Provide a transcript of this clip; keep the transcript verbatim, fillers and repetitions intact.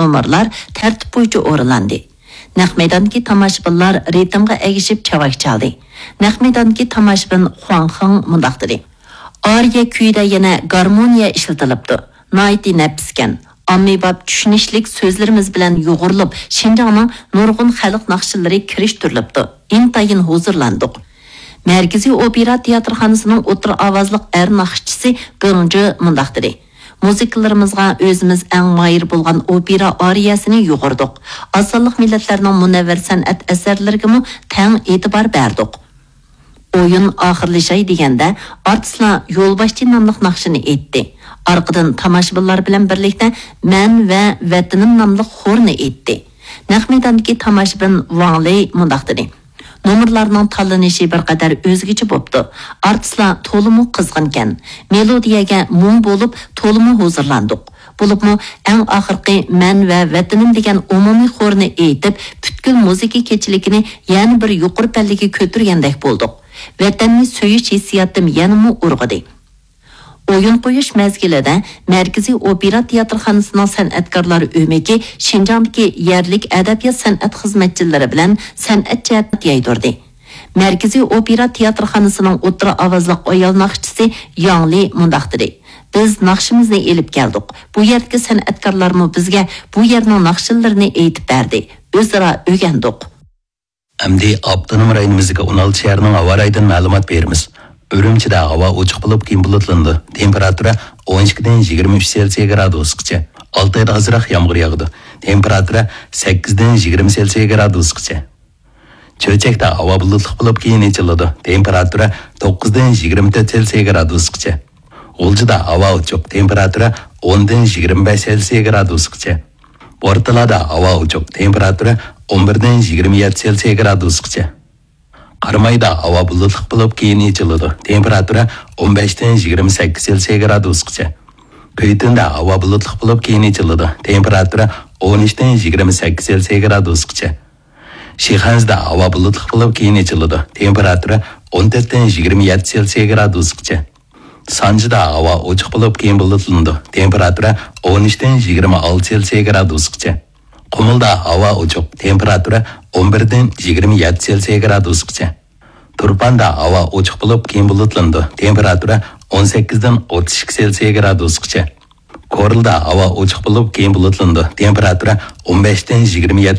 نومۇرلار تەرتىپ بويىچە ئورۇنلاندى. نەق مەيداندىكى تاماشىبىنلار رىتىمغا ئەگىشىپ چاۋاك چالدى. نەق مەيداندىكى تاماشىبىن خۇاڭ خېڭ مۇنداق دېدى: «ئارىيە كۈيىدە يەنە گارمونىيە ئىشلىتىلىپتۇ. ناھايىتى نەپىسكەن، ئاممىباب چۈشىنىشلىك سۆزلىرىمىز بىلەن يۇغۇرۇلۇپ، شىنجاڭنىڭ نۇرغۇن خەلق ناخشىلىرى كىرىشتۈرۈلۈپتۇ. ئىنتايىن ھۇزۇرلاندۇق.» مەركىزىي ئوپېرا تىياتىرخانىسىنىڭ ئوتتۇرا ئاۋازلىق ئەر ناخشىچىسى بېڭ جى مۇنداق دېدى: «مۇزىكىلىرىمىزغا ئۆزىمىز ئەڭ ماھىر بولغان ئوپېرا ئارىيەسىنى يۇغۇردۇق. ئاز سانلىق مىللەتلەرنىڭ مۇنەۋۋەر سەنئەت ئەسەرلىرىگىمۇ تەڭ ئېتىبار بەردۇق.» ئويۇن ئاخىرلىشاي دېگەندە، ئارتىسلار يولباشچى ناملىق ناخشىنى ئېيتتى. ئارقىدىن تاماشىبىنلار بىلەن بىرلىكتە مەن ۋە ۋەتىنىم ناملىق خورنى ئېيتتى. نەق مەيداندىكى تاماشىبىن ۋاڭ لېي مۇنداق دېدى: «نومۇرلارنىڭ تاللىنىشى بىر قەدەر ئۆزگىچە بوپتۇ. ئارتىسلار تولىمۇ قىزغىنكەن. مېلودىيەگە موڭ بولۇپ، تولىمۇ ھۇزۇرلاندۇق. بولۇپمۇ ئەڭ ئاخىرقى مەن ۋە ۋەتىنىم دېگەن ئومۇمىي خورنى ئېيتىپ، پۈتكۈل مۇزىكا كېچىلىكىنى يەنە بىر يۇقىرى پەللىگە كۆتۈرگەندەك بولدۇق. ۋەتەننى سۆيۈش ھېسسىياتىم يەنىمۇ ئۇرغۇدى.» ئويۇن قويۇش مەزگىلىدە مەركىزىي ئوپېرا تىياتىرخانىسىنىڭ سەنئەتكارلار ئۆمىكى شىنجاڭدىكى يەرلىك ئەدەبىيات سەنئەت خىزمەتچىلىرى بىلەن سەنئەت جەھەتتە يايدۇردى. مەركىزىي ئوپېرا تىياتىرخانىسىنىڭ ئوتتۇرا ئاۋازلىق ئايال ناخشىچىسى ياڭ لى مۇنداق دېدى: «بىز ناخشىمىزنى ئېلىپ كەلدۇق. بۇ يەردىكى سەنئەتكارلارمۇ بىزگە بۇ يەرنىڭ ناخشىلىرىنى ئېيتىپ بەردى. ئۆزئارا ئۆگەندۇق.» ئەمدى ئاپتونوم رايونىمىزدىكى ئون ئالتە شەھەرنىڭ ھاۋا رايىدىن مەلۇمات بېرىمىز. ئۈرۈمچىدە ھاۋا ئوچۇق بولۇپ، كېيىن بۇلۇتلىنىدۇ. تېمپېراتۇرا ئون ئىككىدىن يىگىرمە ئۈچ سېلسىيە گرادۇسقىچە. ئالتايدا ئازراق يامغۇر ياغىدۇ. تېمپېراتۇرا سەككىزدىن يىگىرمە سېلسىيە گرادۇسقىچە. چۆچەكتە ھاۋا بۇلۇتلۇق بولۇپ، كېيىن ئېچىلىدۇ. تېمپېراتۇرا توققۇزدىن يىگىرمە تۆت سېلسىيە گرادۇسقىچە. غۇلجىدا ھاۋا ئوچۇق. تېمپېراتۇرا ئوندىن يىگىرمە بەش سېلسىيە گرادۇسقىچە. بورتالادا ھاۋا ئوچۇق، تېمپېراتۇرا ئون بىردىن يىگىرمە يەتتە سېلسىيە گرادۇسقىچە. قارامايدا ھاۋا بۇلۇتلۇق بولۇپ، كېيىن ئېچىلىدۇ، تېمپېراتۇرا ئون بەشتىن يىگىرمە سەككىز سېلسىيە گرادۇسقىچە. كۈيتۈندە ھاۋا بۇلۇتلۇق بولۇپ، كېيىن ئېچىلىدۇ، تېمپېراتۇرا ئون ئۈچتىن يىگىرمە سەككىز سېلسىيە گرادۇسقىچە. شىخەنزىدە ھاۋا بۇلۇتلۇق بولۇپ، كېيىن ئېچىلىدۇ، تېمپېراتۇرا ئون تۆتتىن يىگىرمە يەتتە سېلسىيە گرادۇسقىچە. سانجىدا ھاۋا ئوچۇق بولۇپ، كېيىن بۇلۇتلىنىدۇ، تېمپېراتۇرا ئون ئۈچتىن يىگىرمە ئالتە سېلسىيە گرادۇسقىچە. قۇمۇلدا ھاۋا ئوچۇق، تېمپېراتۇرا ئون بىردىن يىگىرمە يەتتە سېلسىيە گرادۇسقىچە. تۇرپاندا ھاۋا ئوچۇق بولۇپ، كېيىن بۇلۇتلىنىدۇ، تېمپېراتۇرا ئون سەككىزدىن ئوتتۇز ئىككى سېلسىيە گرادۇسقىچە. كورلىدا ھاۋا ئوچۇق بولۇپ، كېيىن بۇلۇتلىنىدۇ، تېمپېراتۇرا ئون بەشتىن يىگىرمە يەتتە